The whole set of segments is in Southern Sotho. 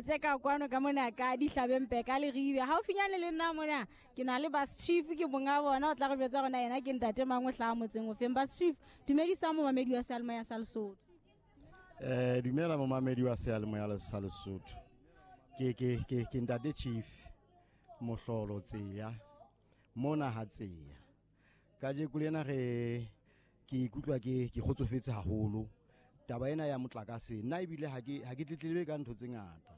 etse ka kwano ka mona ka dihlabempe ka Leribe. Haufinyane le nna mona ke na le bus chief, ke monga bona o tla re jwetsa rona yena ke ntate mang o hlaha motseng o feng. Bus chief, dumedisa momamedi wa seyalemoya sa Lesotho. Dumela momamedi wa seyalemoya sa Lesotho. Ke ntate chief Mohlolo Tseya mona ha Tseya. Kajeko lena re ke ikutlwa ke kgotsofetse haholo. Taba ena ya motlakase nna ebile ha ke tletlebe ka ntho tse ngata,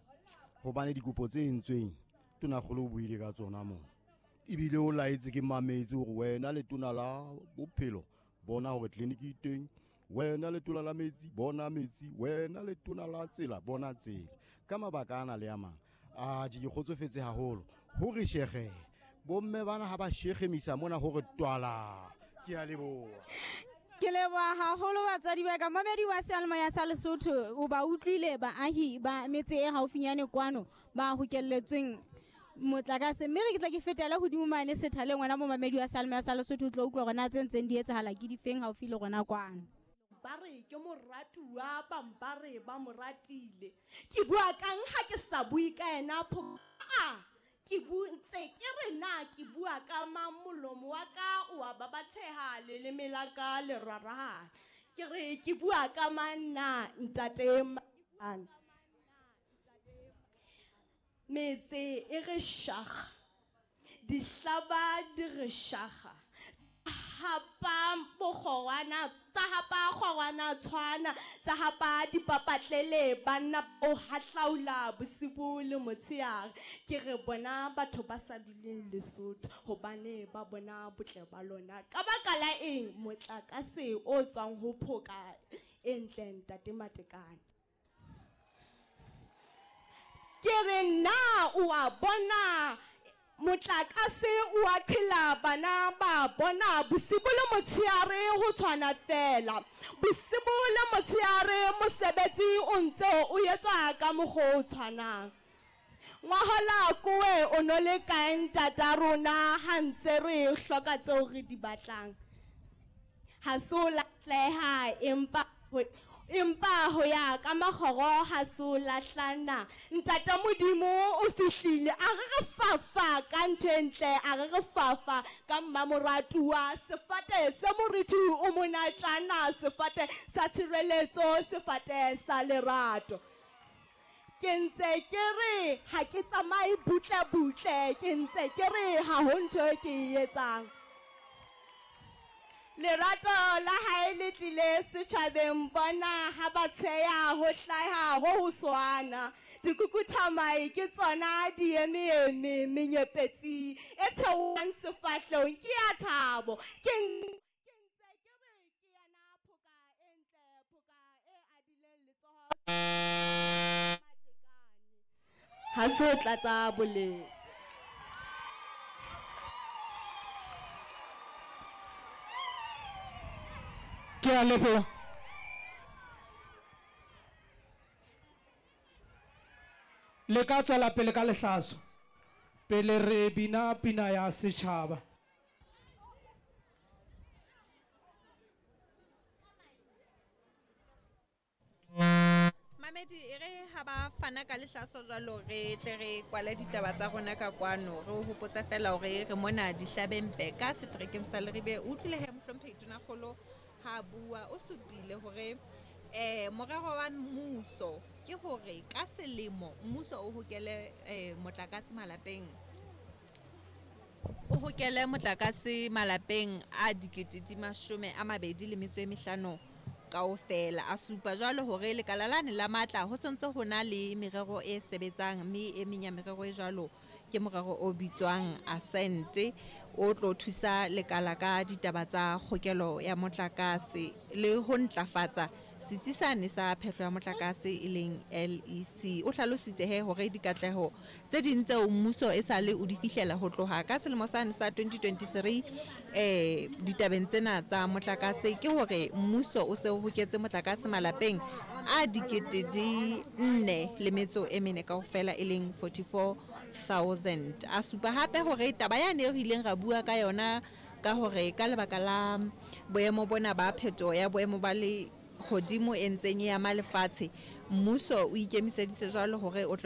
hobane dikopo tse entsweng tonakgolo o buile ka tsona mona, ebile o laetse ke mametse hore wena letona la bophelo bona hore tleliniki e teng, wena letona la metsi bona metsi, wena letona la tsela bona tsela. Ka mabaka ana le a mang a ke kgotsofetse haholo hore shege bomme bana ha ba shegemisa mona hore twala. Ke a leboha. Ke leboha haholo batswadi ba ka. Mamedi wa seyalemoya sa Lesotho, o ba utlwile baahi ba metse e haufinyane kwano ba hokelletsweng motlakase. Mme re ke tla ke fetele hodimo mane sethaleng, wena momamedi wa seyalemoya sa Lesotho, o tlo utlwa hore na tse ntseng di etsahala ke difeng haufi le rona kwano. Ba re ke moratuwa, bang ba re ba mo ratile. Ke bua kang ha ke sa bue ka yena ke ntse ke re na ke bua ka mang, molomo wa ka o a babatheha, leleme la ka le rarahane. Ke re ke bua ka mang na ntate Matekane? Metse e re shaga, dihlaba di re shaga, hapa bokgorwana, tsa hapa kgorwana tshwana, tsa hapa dipapatlele, banna o hahlaula bosibu le motshehare. Ke re bona batho ba sa duleng Lesotho hobane ba bona botle ba lona. Ka baka la eng motlakase o tswang ho phoka e ntle ntate Matekane? Ke re na o a bona motlakase o a qhela, bana ba bona bosibu le motshehare ho tshwana fela. Bosibu le motshehare mosebetsi o ntse o etswa ka mokgwa o tshwanang. Ngwahola kowe o no le kae ntata rona ha ntse re hloka tseo re di batlang? Ha se o lahleha, empa ho ya ka makgoro ha se o lahlana. Ntate Modimo o fihlile, a re re fafa ka ntho e ntle, a re re fafa ka mmamoratuwa. Sefate se moriti o monatjana, sefate sa tshireletso, sefate sa lerato. Ke ntse ke re ha ke tsamaye butle butle, ke ntse ke re ha ho ntho e ke e etsang. Lerato la hae le tlile setjhabeng, bona ha ba tsheya ho hlaha ho ho swana. Dikukuthamai ke tsona di eme menyepetsi e theohang sefahlehong ke ya thabo. Ke ntse ke re ke yana phoka e ntle, phoka e adileng letsoho Matekane. Ha se o tlatsa boleng. Ke a leboha. Le ka tswela pele ka lehlaso pele re bina pina ya setjhaba. Mamedi, e re ha ba fana ka lehlaso jwalo re tle re kwale ditaba tsa rona ka kwano. Re o hopotse fela hore re mona Dihlabempe ka seterekeng sa Leribe. O utlwile he mohlomphehi Tonakgolo ha bua, o supile hore morero wa mmuso ke hore ka selemo mmuso o hokele motlakase malapeng, o hokele motlakase malapeng a 25,000 kaofela. A supa jwalo hore lekala lane la matla ho sentse ho na le merero e sebetsang, mme e meng ya merero e jwalo ke morero o bitswang Ascent, o tlo thusa lekala ka ditaba tsa kgokelo ya motlakase le ho ntlafatsa setsi sane sa phehlo ya motlakase e leng LEC. O hlalositse he hore dikatleho tse ding tseo mmuso e sale o di fihlela ho tloha ka selemo sane sa 2023 ditabeng tsena tsa motlakase ke hore mmuso o se o hoketse motlakase malapeng a 4,004 kaofela e leng 44,000. A supa hape hore taba yane re ileng ra bua ka yona ka hore ka lebaka la boemo bona ba phetoho ya boemo ba le hodimo e ntseng e ama lefatshe, mmuso o ikemiseditse jwalo hore o tle